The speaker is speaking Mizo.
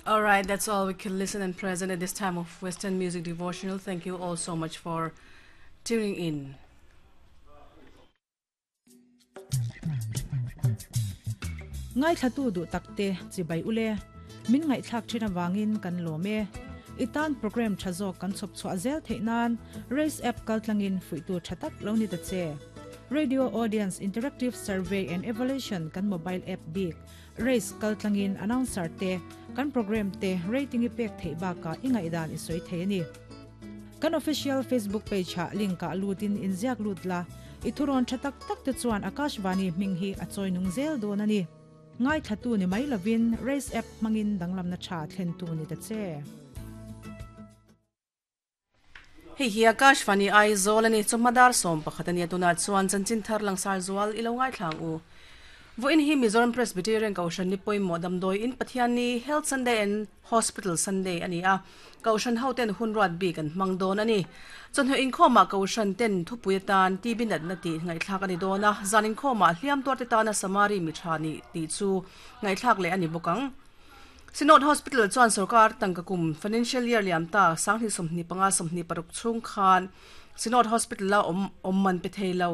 All right, that's all we can listen and present at this time of Western Music Devotional. Thank you all so much for tuning in. Ngaithlatu duh takte chibai ule. Min ngaihthlak thin avangin kan lawm e. I tan program tha zawk kan chhawp chhuah zel theih nan Race app kaltlangin fuihtu tha tak lo ni ta che. Radio Audience Interactive Survey and Evaluation kan mobile app bik Race kaltlangin announcer te kan program te rating i pek theih bakah i ngaihdan i sawi thei a ni. Kan official Facebook page ah link ah lutin inziak lut la, i thurawn tha tak tak te chuan Akashvani hming hi a chawi nung zel dawn a ni. Ngaithlatu ni mai lovin Race app hmangin danglamna tha thlentu ni ta che. Hei hi Akashvani Aizawl a ni, chawhma dar 11 a nia tunah chuan chanchin thar langsar zual i lo ngaithla ang u. Vawiin hi Mizoram Presbyterian Kohhran ni pawimawh damdawi in Pathianni Health Sunday and Hospital Sunday a ni a, Kohhran hoten hun ruat bik an hmang dawn a ni. Chawhnu inkhawmah Kohhran ten thupui atan TB natna tih ngaihthlak a ni dawn a, zan inkhawmah hliam tuarte tana Samari mi tha nih tih chu ngaihthlak leh a ni bawk ang. Synod Hospital chuan sorkar tangka kum financial year liam ta 2025 26 chhung khan Synod Hospital-a awm awm man pe thei lo.